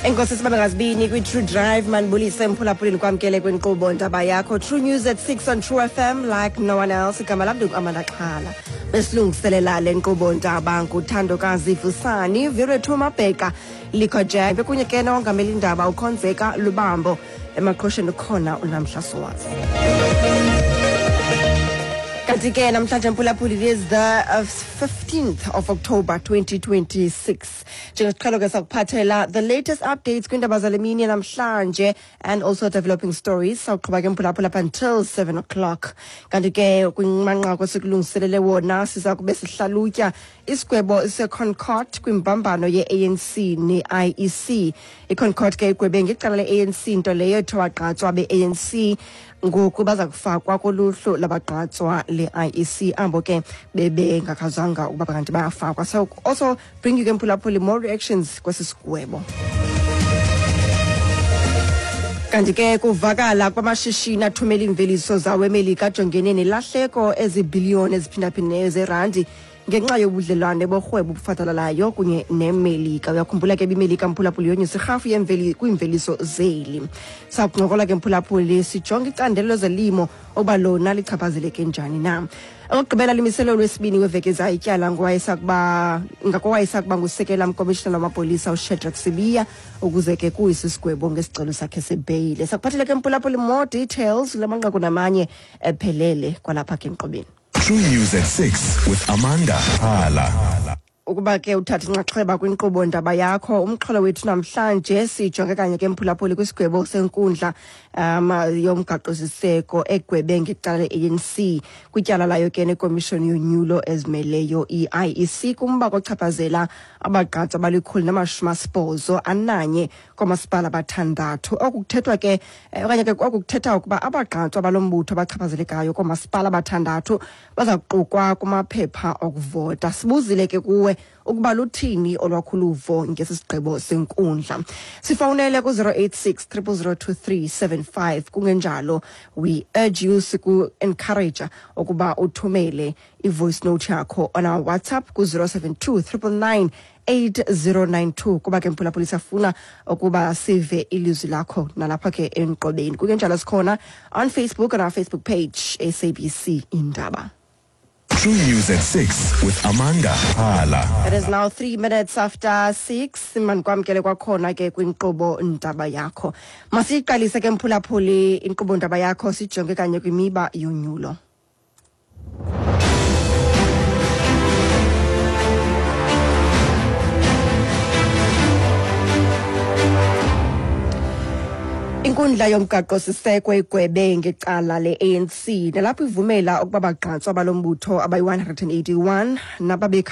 Enkosi sibabe ngazibini kwi-True Drive. Mandibulise mphulaphuleni, kwamkele kwinkqubo Ndaba Yakho, True News at 6 on True FM like no one else. Igama lam ndinguAmanda Xhala. Besilungiselela le nkqubo ndaba nguthandokazi Vusani Virethu Mabheka Likho Jack, bekunye ke nowongamela indaba uKhonzeka Lubambo. Emaqhosheni ukhona uNamhla Sowazi. Kanti ke namhlanje, mphulaphuli, it is the 15th of October 2026. Njengesiqhelo ke sakuphathela the latest updates kwiindaba zale mini namhlanje and also developing stories. Sawuqhuba ke, mphulaphula, up until 7 o'clock. Kanti ke kwimanqaku esikulungiselele wona, siza kube sihlalutya isigwebo seConcourt kwimbambano ye-ANC ne-IEC. IConcourt ke igwebe ngecala le-ANC, nto leyo ethe wagqatswa be-ANC ngoku baza kufakwa koluhlu labagqatswa le-IEC, abo ke bebengakhazanga ukuba kanti bayafakwa. So also bring you ke, mphulaphuli, more reactions kwesi sigwebo. Kanti ke kuvakala kwamashishini athumela iimveliso zawo eMelika ajongene nelahleko ezibhiliyoni eziphindaphindeneyo zerandi ngenxa yobudlelwane borhwebo obufadalalayo kunye neMelika. Uyakhumbula ke bimelika, mphulaphuli, yonyusa irhafu yemveli kwiimveliso zeli. Sakuncokola ke, mphulaphuli, sijonge icandelo lezolimo ukuba lona lichaphazeleke njani na. Okokugqibela, limiselo lwesibini weveki ezayo ityala ngowayesakuba ngakowayesakuba ngusekela mkomishinala wamapolisa uShadrack Sibiya ukuze ke kuyise isigwebo ngesicelo sakhe sebheyile. Sakuphathele ke, mphulaphuli, more details kula manqaku namanye ephelele kwalapha ke enkqubeni. True News at 6 with Amanda Hala. Ukuba ke uthatha inxaxheba kwinkqubo Ndaba Yakho, umxholo wethu namhlanje sijonge kanye ke, mphulaphuli, kwisigwebo senkundla yomgaqo-siseko egwebe ngecala le-ANC kwityala layo ke nekomishoni yonyulo ezimeleyo i-IEC kumba kochaphazela abagqatswa abali-181 koomasipala bathandathu. Oku kuthethwa ke okanye ke oku kuthetha ukuba abagqatswa balo mbutho abachaphazelekayo koomasipala abathandathu baza kuqukwa kumaphepha okuvota. Sibuzile ke kuwe ukuba luthini olwakho uluvo ngesi sigqibo senkundla. Sifowunele ku-086 0002375. Kungenjalo, we urge you, siku-encourage ukuba uthumele i-voice note yakho on our WhatsApp ku-072 999 8092, kuba ke, mphulaphuli, siyafuna ukuba sive ilizwi lakho nalapha ke enkqobeni. Kungenjalo, sikhona on Facebook, on our Facebook page, SABC Indaba. True News at 6 with Amanda Hala. It is now 3 minutes after 6. Mandikwamkele kwakhona ke kwinkqubo Ndaba Yakho. Masiyiqalise ke, mphulaphuli, inkqubo Ndaba Yakho, sijonge kanye kwimiba yonyulo. Inkundla yomgaqo-siseko igwebe ngecala le-ANC nalapho ivumela ukuba bagqatswa balo mbutho abayi-181 nababekha